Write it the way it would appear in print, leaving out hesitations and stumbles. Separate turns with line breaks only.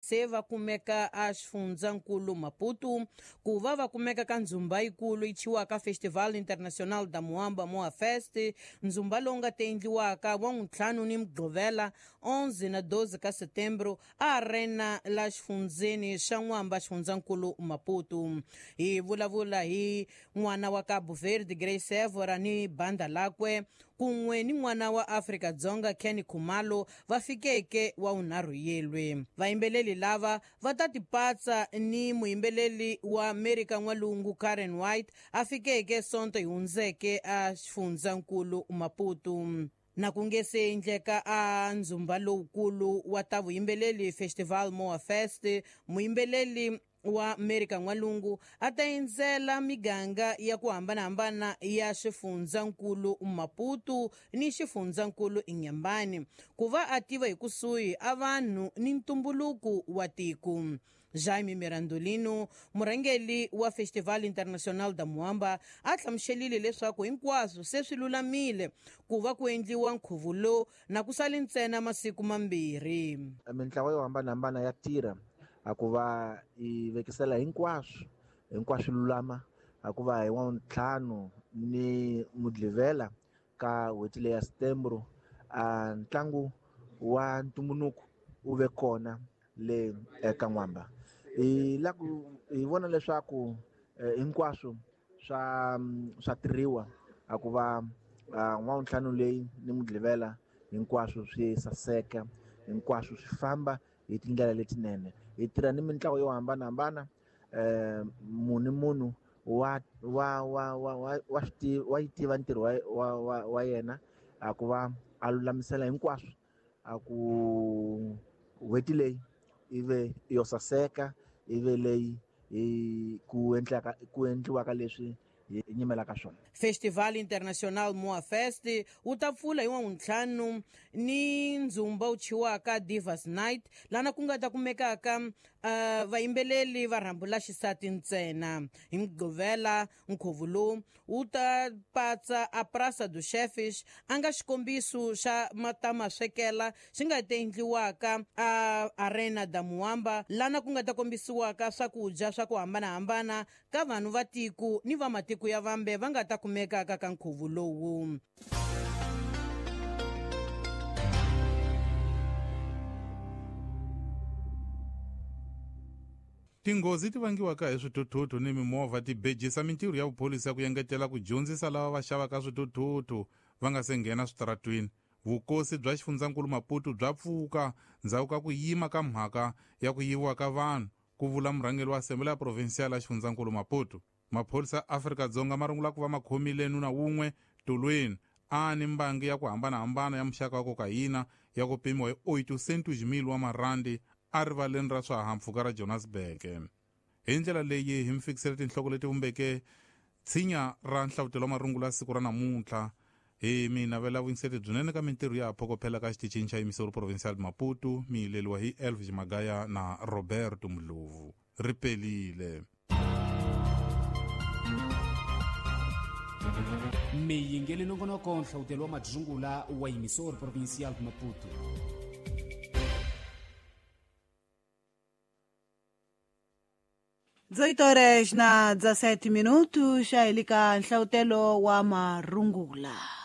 Se va kumeka a xifundzankulu Maputo ku va va kumeka ka ndzumba yikulu yi thyiwaka Festival Internacional da Moamba Moa Fest, ndzumba lowu nga ta endliwaka wa n'wuntlhanu ni Mugqivela 11 na 12 ka Setembro a arena la xifundzeni xa N'wamba xifundzankulu Maputo. Hi vulavula hi n'wana wa Cabo Verde Grace Evora ni banda lakwe kun'we ni n'wana wa Afrika-Dzonga Kenny Khumalo va fikeke wa vunharhu yelwe. Vayimbeleli lava va ta tipatsa ni muyimbeleli wa Amerika N'walungu Karen White a fikeke Sonto hi hundzeke a xifundzankulu Maputo. Na ku nge se endleka a ndzumba lowukulu wa ta vuyimbeleli Festival Moa Fest, muyimbeleli wa Amerika N'walungu a ta endzela miganga ya ku hambanahambana ya xifundzankulu Maputo ni xifundzankulu Inhambane ku va a tiva hi kusuhi a vanhu ni ntumbuluko wa tiko. Jaime Mirandolino, murhangeri wa Festival Internacional da Moamba, a hlamuselile leswaku hinkwaswo se swi lulamile ku va ku endliwa nkhuvo lowu na ku sale ntsena masiku mambirhi.
Mintlawa yo hambanahambana ya tirha a ku va yi vekisela hinkwaswo hinkwaswo lulama a ku va hi wa ntlhanu ni Mugqivela ka n'hweti leya Setembro a ntlangu wa ntumbuluko wu ve kona le eka N'wamba. Hi la ku hi vona leswaku hinkwaswo swa tirhiwa a ku va n'wavuntlhanu leyi ni Mugqivela hinkwaswo swi saseka, hinkwaswo swi famba hi tindlela letinene. Hi tirha ni mintlawa yo hambanahambana, munhu ni munhu wa wa wa wa wa wa swi wa yi tiva ntirho wa yena a ku va a lulamisela hinkwaswo a ku n'hweti leyi ive yo saseka, ive leyi hi ku endlaka ku endliwaka leswi hi nyimelaka swona.
Festival Internacional Moa Fest wu ta pfula hi wavuntlhanu ni ndzumba wu thyiwaka Divas Night, lana ku nga ta kumekaka vayimbeleli va rhambu la xisati ntsena. Hi Mugqivela nkhuvo lowu wu ta patsa a Praça dos Chefes, a nga xikombiso xa matamaswekela xi nga ta endliwaka a Arena da Moamba, lana ku nga ta kombisiwaka swakudya swa ku hambanahambana ka vanhu va tiko ni va matiko ya vambe va nga ta kumekaka ka nkhuvo lowu.
Tinghozi ti vangiwaka hi swithuthuthu ni mimovha ti bejisa mintirho ya vupholisa ku engetela ku dyondzisa lava va xavaka swithuthuthu va nga se nghena switaratwini. Vukosi bya xifundzankulu Maputo bya pfuka ndzhaku ka ku yima ka mhaka ya ku yiviwa ka vanhu, ku vula murhangeri wa Assembly ya Provincial ya xifundzankulu Maputo. Maphorisa ya Afrika-Dzonga ma rungula ku va ma khomile nuna wun'we tolweni a ni mbangi ya ku hambanahambana ya muxaka wa kokayina ya ku pimiwa hi 800,000 wa marandi a rivaleni ra swihahampfhuka ra Johannesburg. Hi ndlela leyi hi mi fikisele tinhloko leti vumbeke tshinya ra nhlavutelo wa marungula siku ra namuntlha. Hi mi navela vuyingiseri byinene ka mintirho ya phokophela ka xitichini xa Emissoro Provincial Maputo, mi yileliwa hi Elvis Magaya na Roberto Mdlovu. Ri pelile.
Mi yingeli nongonoko nhlawutelo wa madzungula wa Emissoro Provincial Maputo.
18 horas na 17 minutos, xa helika nhlawutelo wa marungula.